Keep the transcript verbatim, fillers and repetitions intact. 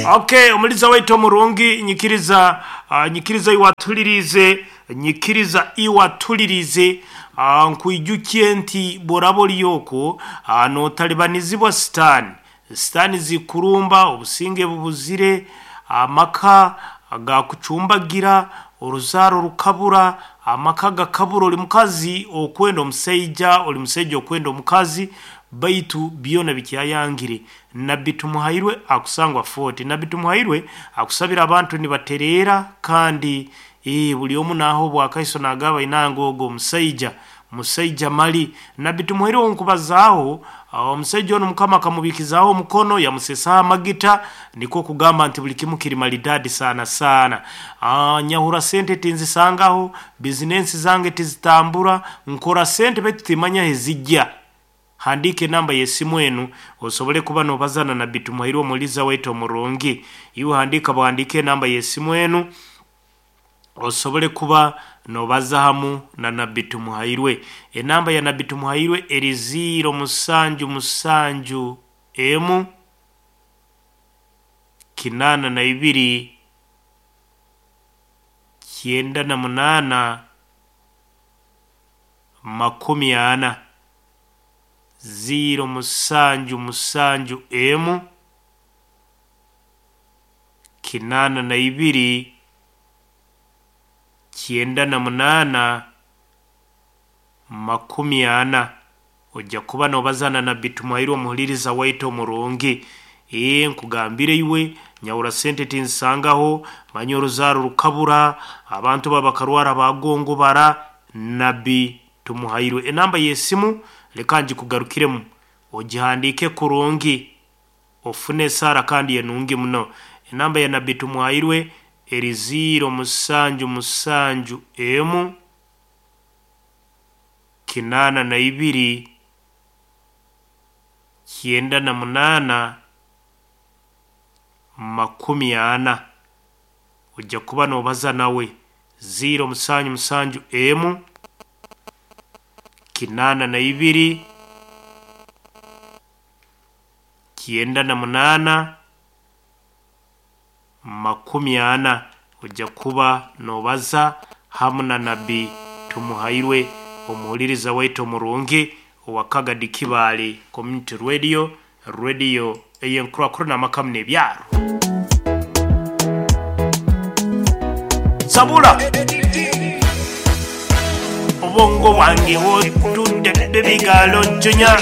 Okay, omuliza waitu omurungi, nyikiriza uh, nyikiriza iwatulirize, nyikiriza iwatulirize. uh, nkwijukie nti bworaba oliyoko uh, notalibanizibwa sitaani, sitaani zikurumba, obusinge bubuzire, amaka gakucumbagira, oruzaaro rukabura, amaka gakabura, oli mukazi okwenda omusaija, oli musaija okwenda omukazi, baitu byona bikyayangire. Nabbi Tumuhairwe akusangwa Fort. Nabbi Tumuhairwe akusabira abantu nibatereera, kandi eh, buli omu naaho obwakaiso nagaba inanga ogo omusaija musaija mali. Nabbi Tumuhairwe onkubazaaho omusaija onu Mukama akamubikizaaho omukono, yamusesaho amagita, nikwo kugamba nti buli kimu kiri maridadi sana sana. Ah, nyahura sente tinzisangaho, bizinensi zange tizitambura, nkora sente baitu timanya hezijja. Handika enamba y'esimu enu osobole kuba nobazana Nabbi Tumuhairwe omuliza waitu omurungi. Iwe handika bwandika enamba y'esimu enu osobole kuba nobaza hamu na Nabbi Tumuhairwe. Enamba ya Nabbi Tumuhairwe eri ziro musanju musanju emu kinana na ibiri kyenda na munana makumi ana. Ziro musanju musanju emu kinana na ibiri kyenda na munana makumi ana. Ojja kuba nobazana Nabbi Tumuhairwe omuhuliriza waitu omurungi. Ee, nkugambire iwe nyahura sente tinzisangaho, manya oruzaaro rukabura, abantu babakarwara bagongobara. Nabbi Tumuhairwe enamba y'esimu leka ngikugarukiremu ogihandiike kurungi, ofune esaara kandi enungi muno. Enamba ya Nabbi Tumuhairwe eri ziro musanju musanju emu kinana na ibiri kyenda na munana makumi ana. Ojja kuba nobaza nawe ziro musanju musanju emu kinana na ibiri kyenda na munana makumi ana. Ojja kuba nobaza hamu na Nabbi Tumuhairwe omuhuliriza waitu omurungi owa Kagadi Kibaale Community Radio, radio ey'enkurakurana amakamu n'ebyaro. Sabula obwongo bwange wotudde bebigalo njunya.